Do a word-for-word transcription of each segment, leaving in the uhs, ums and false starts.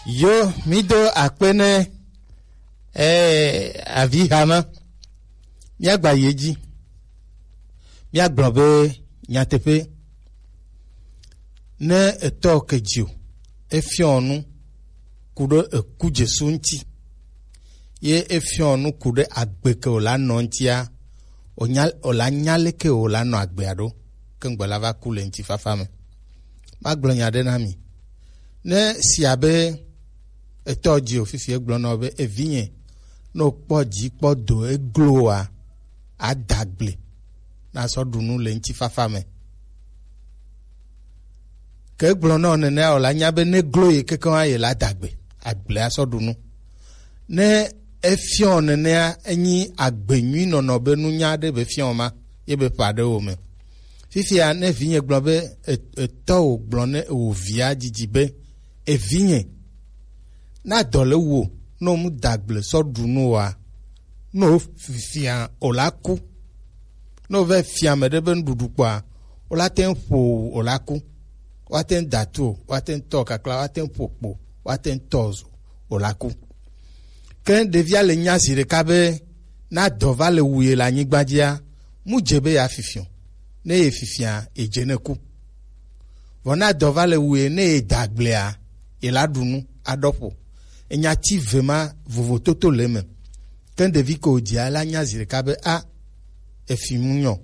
Yo, mi do akpe ne, eh, avi hama. Míagba yi edzi. Míagblɔ be nyateƒe, ne etɔ ke dzi o, efiɔ nu ku ɖe eku Jesu ŋuti, ye efiɔ nu ku ɖe agbe ke wòla nɔ ŋutia, wònya, wòla nya leke wòla nɔ agbea ɖo, ke ŋgbe la va ku le ŋutifafa me. Magblɔ nya ɖe na mi. Ne si abe etɔ dzi o fifi, egblɔ na wò be, "Evinye, ne wòkpɔ dzi kpɔ do eglo oa, ada gble na sɔ ɖu nu le ŋutifafa me." Ke egblɔ na wò nenea, wòla nya be ne glo ye kekeŋ ye la da gbe, agble asɔ ɖu nu. Ne efiɔ nenea, enyi agbe nyui nɔnɔ be nunya ɖe be fiɔ ma, ye be ƒa ɖe wo me. Fifia, ne vinye gblɔ be, e-, etɔ wò gblɔ ne wò via dzidzi be, "Evinye, na dɔ le wo, ne wò mu da gble sɔ ɖu nu oa, ne wò fifia wòla ku." Ne wòva fia ame ɖe be nuɖuɖu kpɔa, wòla te ŋu ƒo wò wòla ku. Woate ŋu da tu o, woate ŋu tɔ kakla, woate ŋu ƒo kpo, woate ŋu tɔ zo wòla ku. Ke ɖevia le nya zi ɖeka be, ne adɔ va le wu ye le anyigba dzia, mu dze be yeafifi o. Ne ye fifia, ye dze ne ku. Vɔ ne adɔ va le wu ye, ne ye da gblea, ye la ɖu nu aɖɔ ƒo. Enya ti ve ma vovototo le eme. Ke ɖevi ke wòdzia, la nya zi ɖeka be, a, efi mu nyɔ.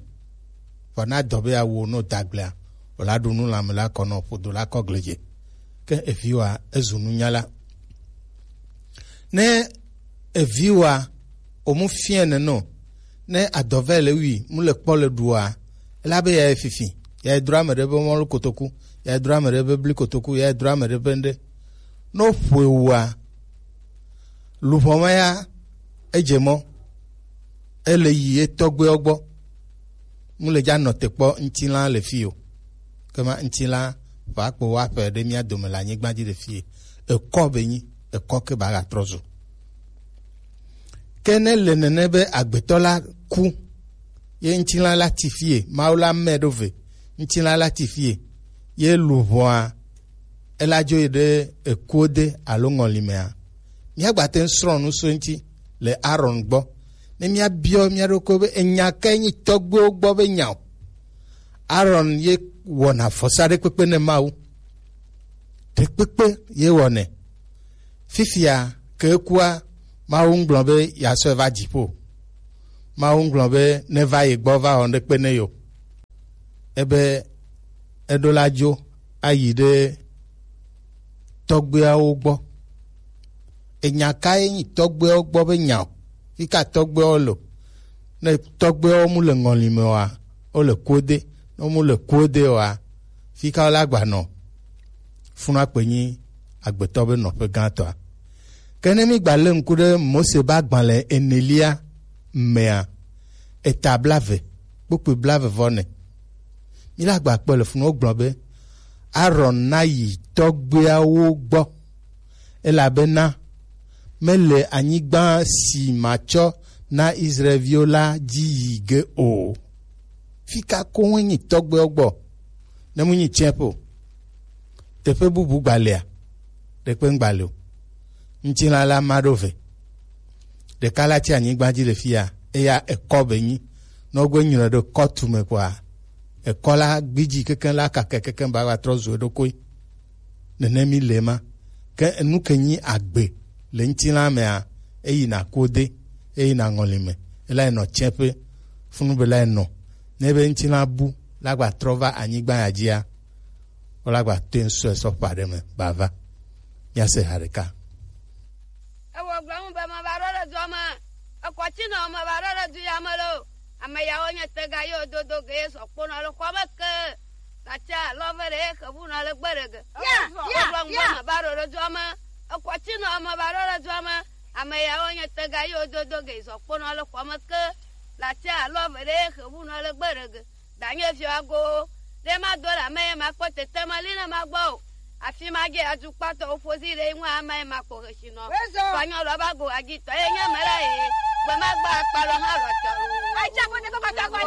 Vɔ ne adɔ be yeawu o, ne wòda gblea, wòla ɖu nu lãme la kɔ nɔ ƒodo la kɔ gledze. Ke eviwòa, ezu nunyala. Ne eviwòa, wòmu fiɛ nene o, ne adɔvɛ le wui, mu le kpɔ le ɖua, ela be ya fifi, ya drɔ ame ɖe be mɔlu kotoku, ya drɔ ame ɖe be bli kotoku, ya drɔ ame ɖe be ŋɖe. Ne wòƒoe wua, luʋɔ ma ya, edze mɔ, ele yi ye tɔgbuiwo gbɔ. Mu le dza nɔ te kpɔ ŋutilã le fi o. Ke ma ŋutilã va kpo wa ƒe ɖe mía dome le anyigba dzi le fi. Ekɔ be nyi, ekɔ ke ba ga trɔ zu. Ke ne le nene be agbetɔ la ku, ye ŋutilã la ti fie, Mawu la mɛ ɖo ve, ŋutilã la ti fie, ye luʋɔa, ela dzo yi ɖe ekuo de alo ŋɔli mea, míagba te ŋu srɔ̃ nu so eŋuti le Aron gbɔ. Ne míabiɔ mía ɖokui be enya kae nyi tɔgbuiwo gbɔ be nya o. Aron ye wɔna vɔsa ɖekpekpe ne Mawu. Ɖekpekpe ye wɔnɛ. Fifia ke ekua, Mawu ŋgblɔ be yeasɔe va dziƒo. Mawu ŋgblɔ be neva ye gbɔ va wɔ ŋɖekpe ne yo. Ebe eɖo la dzo ayi ɖe tɔgbuiawo gbɔ. Enya kae nyi tɔgbuiawo gbɔ be nya o? Fi ka tɔgbuiawo le? Ne tɔgbuiawo mu le ŋɔli me oa, wo le kuo de. Ne wo mu le kuo de oa, fi ka wo la gba nɔ? Funua kpe nyi agbetɔ be nɔƒe gãtɔa. Ke ne mi gba le ŋku ɖe Mose be agbalẽ enelia mea, eta blave, kpukpui blave vɔ ne. Mi la gba kpɔ le funu, wogblɔ be, Aron na yi tɔgbuiawo gbɔ, elabena mele anyigba si matsɔ na Israelviwo la dzi yi ge o. Fi ka koŋ nyi tɔgbuiawo gbɔ? Ne mu nyi tiɛƒe o, teƒe bubu gbalea? Ɖekpe ŋgba le o. Ŋutilã la ma ɖo ve. Ɖeka la tsi anyigba dzi le fia, eya ekɔ be nyi. Ne wogbe nyre ɖe kɔtu me kɔa, ekɔ la gbidzi kekeŋ la kake kekeŋ ba va trɔ zu eɖokui. Nene mi le ma. Ke enu ke nyi agbe le ŋutilã mea, eyina kode, eyina ŋɔli me, ela nɔ tseƒe, funu be la nɔ. Ne be ŋutilã bu la gba trɔ va anyigba ya dzia, wo la gba te ŋsɔe sɔ ƒe aɖe me ba va. Míase ha ɖeka. Ewɔ gblɔ ŋu be meva ɖo ɖe dua me. Ekɔ tsi nɔ meva ɖo ɖe du ya me lo. Ame yawo nye tega yewo dodo ge ye sɔ kponɔ le xɔa me ke. Latsa lɔ ve ɖe ye xevu nɔ le gbe ɖe ge. Ya, ya, ya. Ewɔ gblɔ ŋu be meva ɖo ɖe dua me. Ekɔ tsi nɔ meva ɖo ɖe dua me. Ame yawo nye tega yewo dodo ge ye sɔ kponɔ le xɔa me ke. Latsa lɔ ve ɖe ye xevu nɔ le gbe ɖe ge. Danye viago, ɖe ma do la me ma kpɔ tete ma li ne ma gbɔ o. Afi ma ge adu kpatɔ o fozi ɖe ŋu ame ma kpɔ hesi nɔ. Kɔnyɔ lɔ ba go agi tɔ ye nye me la ye. Gbe ma gba akpa lɔ ha lɔ tɔ o. Acha ko ne ko kata ko ne